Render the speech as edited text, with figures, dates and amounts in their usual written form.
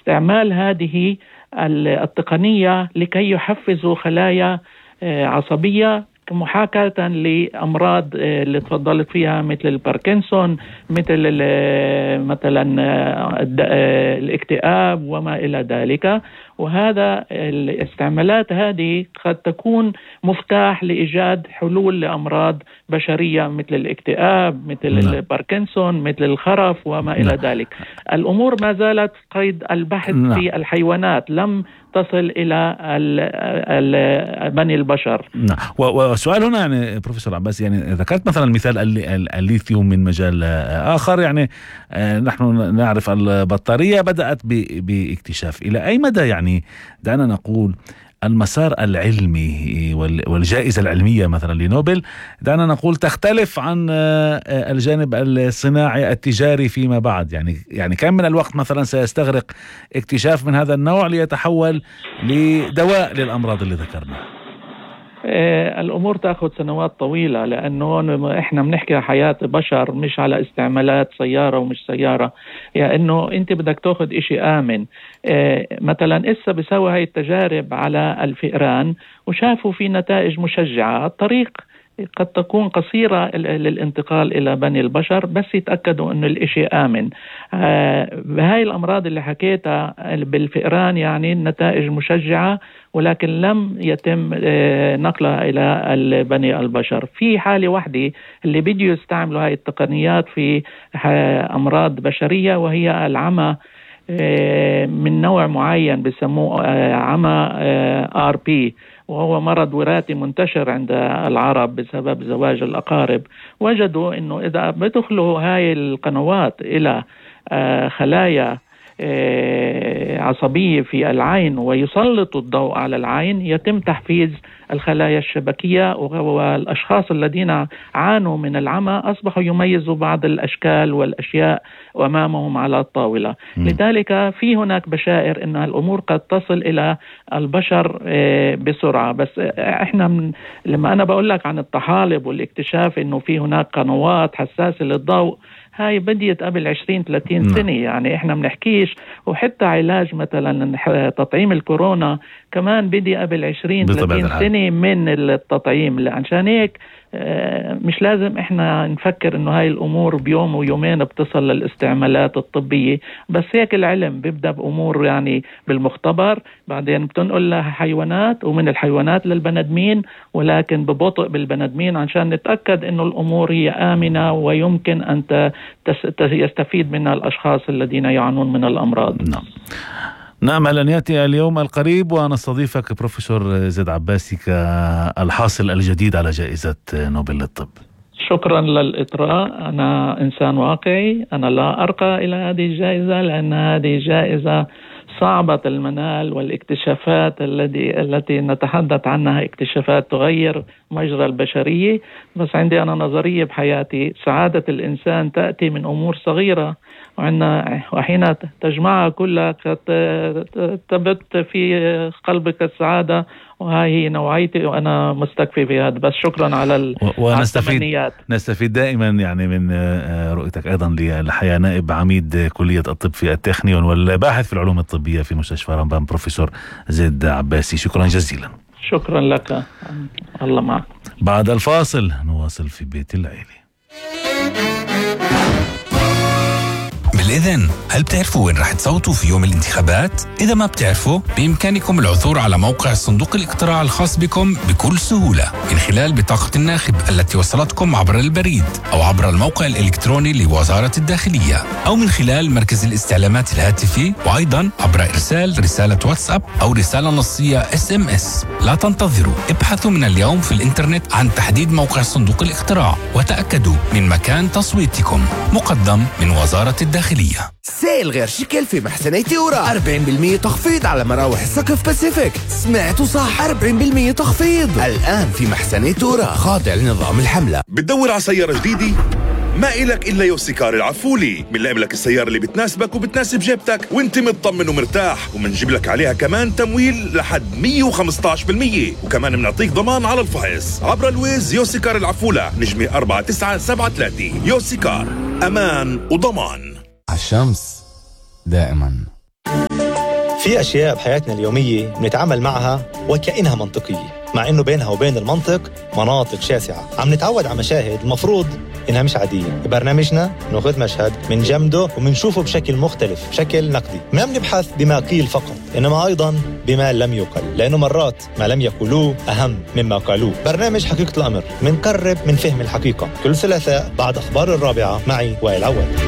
استعمال هذه التقنية لكي يحفزوا خلايا عصبية محاكاة لأمراض اللي تفضلت فيها مثل الباركنسون، مثل مثلا الاكتئاب وما إلى ذلك. وهذا الاستعمالات هذه قد تكون مفتاح لإيجاد حلول لأمراض بشرية مثل الاكتئاب، مثل الباركنسون، مثل الخرف وما إلى ذلك. الأمور ما زالت قيد البحث في الحيوانات، لم تصل إلى بني البشر. وسؤال هنا يعني بروفيسور عباس، يعني ذكرت مثلا مثال الليثيوم من مجال آخر، يعني نحن نعرف البطارية بدأت باكتشاف. إلى أي مدى يعني دعنا نقول المسار العلمي والجائزة العلمية مثلا لنوبل دعنا نقول تختلف عن الجانب الصناعي التجاري فيما بعد؟ يعني كم من الوقت مثلا سيستغرق اكتشاف من هذا النوع ليتحول لدواء للأمراض اللي ذكرنا؟ الأمور تأخذ سنوات طويلة، لأنه إحنا بنحكي على حياة بشر مش على استعمالات سيارة ومش سيارة. يعني إنه أنت بدك تأخذ إشي آمن. مثلا إسا بيسوي هاي التجارب على الفئران وشافوا في نتائج مشجعة. الطريق قد تكون قصيرة للانتقال إلى بني البشر، بس يتأكدوا أنه الإشي آمن. بهاي الأمراض اللي حكيتها بالفئران يعني النتائج مشجعة، ولكن لم يتم نقلها إلى بني البشر. في حالة واحدة اللي بديوا يستعملوا هاي التقنيات في أمراض بشرية، وهي العمى من نوع معين بسموه عمى RP، وهو مرض وراثي منتشر عند العرب بسبب زواج الأقارب. وجدوا أنه إذا بدخلوا هاي القنوات إلى خلايا عصبية في العين ويسلطوا الضوء على العين، يتم تحفيز الخلايا الشبكية، والأشخاص الذين عانوا من العمى أصبحوا يميزوا بعض الأشكال والأشياء أمامهم على الطاولة. لذلك في هناك بشائر أن الأمور قد تصل إلى البشر بسرعة. بس إحنا لما أنا بقول لك عن الطحالب والاكتشاف أنه في هناك قنوات حساسة للضوء، هاي بديت قبل 20-30 سنة. يعني إحنا منحكيش، وحتى علاج مثلا تطعيم الكورونا كمان بدي قبل 20-30 سنة من التطعيم. عشان هيك مش لازم إحنا نفكر إنه هاي الأمور بيوم ويومين بتصل للاستعمالات الطبية. بس هيك العلم بيبدأ بأمور يعني بالمختبر، بعدين بتنقل لها حيوانات، ومن الحيوانات للبنادمين، ولكن ببطء بالبنادمين عشان نتأكد إنه الأمور هي آمنة ويمكن أن يستفيد منها الأشخاص الذين يعانون من الأمراض. نأمل أن يأتي اليوم القريب ونستضيفك بروفيسور زيد عباسي كالحاصل الجديد على جائزة نوبل للطب. شكرا للإطراء. أنا إنسان واقعي، أنا لا أرقى إلى هذه الجائزة، لأن هذه جائزة صعبة المنال، والاكتشافات التي نتحدث عنها اكتشافات تغير مجرى البشرية. بس عندي أنا نظرية بحياتي، سعادة الإنسان تأتي من أمور صغيرة، وحين تجمعها كلها تبت في قلبك السعادة. وهي هي نوعيتي، وأنا مستكفي بهذا. بس شكرا على التمنيات. نستفيد دائما يعني من رؤيتك أيضا للحياة. نائب عميد كلية الطب في التكنيون والباحث في العلوم الطبية في مستشفى رمبان، بروفيسور زيد عباسي، شكرا جزيلا. شكرا لك، الله معك. بعد الفاصل نواصل في بيت العيلة. بالإذن، هل بتعرفوا وين رح تصوتوا في يوم الانتخابات؟ إذا ما بتعرفوا، بإمكانكم العثور على موقع صندوق الاقتراع الخاص بكم بكل سهولة من خلال بطاقة الناخب التي وصلتكم عبر البريد، أو عبر الموقع الإلكتروني لوزارة الداخلية، أو من خلال مركز الاستعلامات الهاتفي، وأيضا عبر إرسال رسالة واتساب أو رسالة نصية SMS. لا تنتظروا، ابحثوا من اليوم في الإنترنت عن تحديد موقع صندوق الاقتراع وتأكدوا من مكان تصويتكم. مقدم من وزارة الداخلية. سيل غير شكل في محسني تيورا، 40% تخفيض على مراوح السقف باسيفيك. سمعتوا صح، 40% تخفيض الآن في محسني تيورا، خاضع لنظام الحملة. بتدور على سيارة جديدة؟ ما إلك إلا يوسيكار العفولي. بنلاقي لك السيارة اللي بتناسبك وبتناسب جيبتك وانت مطمن ومرتاح، ومنجيب لك عليها كمان تمويل لحد 115%، وكمان بنعطيك ضمان على الفحص عبر الويز. يوسيكار العفولة، نجمة 4973. يوسيكار، أمان وضمان. الشمس دائما. في أشياء بحياتنا اليومية بنتعامل معها وكأنها منطقية، مع إنه بينها وبين المنطق مناطق شاسعة. عم نتعود على مشاهد المفروض إنها مش عادية. ببرنامجنا نأخذ مشهد من جمده ومنشوفه بشكل مختلف، بشكل نقدي. ما بنبحث بما قيل فقط، إنما أيضاً بما لم يقل، لأنه مرات ما لم يقولوه أهم مما قالوه. برنامج حقيقة الأمر منقرب من فهم الحقيقة، كل ثلاثاء بعد أخبار 4 معي وائل عواد.